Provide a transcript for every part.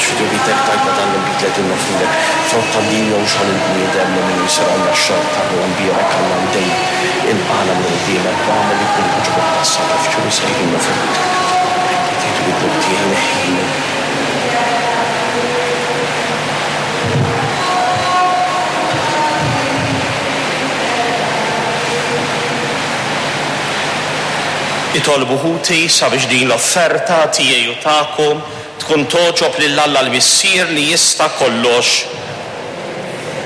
Għax fi tjubitek tajtna dan l-inbid li qegħdin noffrulek, frott tad-dinja u xogħol il-bniedem li minnu jsir għandna x-xorb tar-ruħ imbierek Alla u dejjem ilqagħna minn quddiemek u agħmel li jkun jogħġbok das-sagrifiċċju li sejrin noffrulek. Li tgħidu li d-dnub tiegħi neħħini. Itolbu ħuti sabiex din l-offerta tiegħi u tagħkom tkun togħġob lil Alla l-Missier li jista' kollox.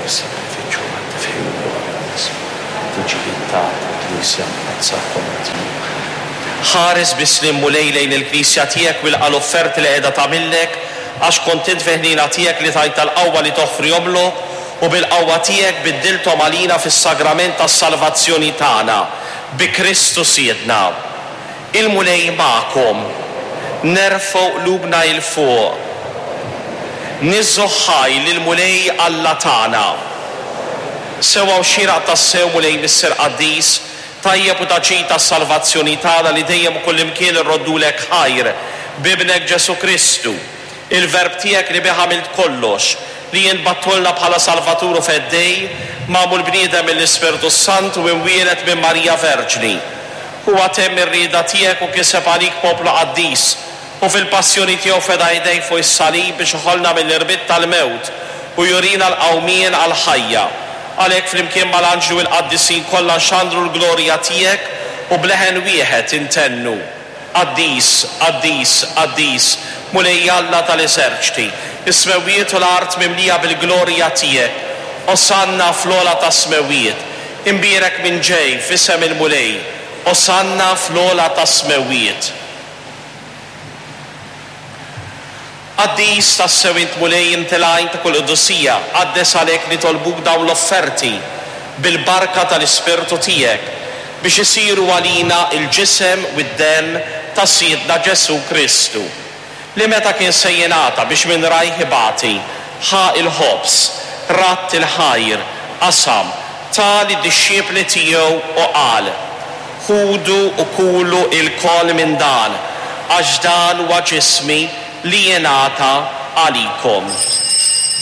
Is-sagrifiċċju għat-tifħir u l-glorja għal ismek, tiġi tal-Knisja Mqaddsa kollha tiegħek. Ħares bis-sliem Mulej lejn il-Knisja tiegħek u ilqa' l-offerti li qiegħda tagħmillek, għax kont int fil-ħniena tiegħek li tajtha l-qawwa li toffrihomlok u bil-qawwa tiegħek biddilthom għalina fis-sagrament tas-salvazzjoni tagħna, bi Kristu Sidna. Il-Mulej magħkom. Nerfgħu qlubna 'il fuq. Niżżu ħaj lill-Mulej Alla tagħna. Sewwa u xieraq tassew, Mulej Missier Qaddis, tajjeb u ta' ġid għas-salvazzjoni tagħna li dejjem u kullimkien irroddulek ħajr b'Ibnek Ġesù Kristu, il-Verb tiegħek li bih għamilt kollox, li int bgħattulna bħala Salvatur u Feddej, magħmul bniedem mill-Ispirtu s-Santu u imwieled minn Marija Verġni. Huwa temm ir-rieda tiegħek u kiseb għalik poplu qaddis, u fil-passjoni tiegħu feda idejh fuq is-salib biex iħollna mill-irbit tal-mewt u jurina l-qawmien għall-ħajja. Għalhekk flimkien mal-anġli u l-qaddisin kollha nxandru l-glorja tiegħek u b'leħen wieħed intennu, Qaddis, qaddis, qaddis, Mulej Alla tal-eżerċti, is-smewwiet u l-art mimlija bil-glorja tiegħek. Osanna fl-ogħla tas-smewwiet. Imbierek min ġej f'isem il-Mulej. Osanna fl-ogħla tas-smewwiet. Qaddis tassew int Mulej inti l-għajn ta' kull qdusija, qaddes għalhekk nitolbuk dawn l-offerti bil-barka tal-Ispirtu tiegħek, biex isiru għalina l-ġisem u d-demm ta' Sidna Ġesù Kristu, li meta kien se jingħata biex minn rajh ibati, ħa l-ħobż, radd il-ħajr, qasam, ta lid-dixxipli tiegħu u qal, Ħudu u kulu ilkoll minn dan, għax dan huwa ġismi li jingħata għalikom.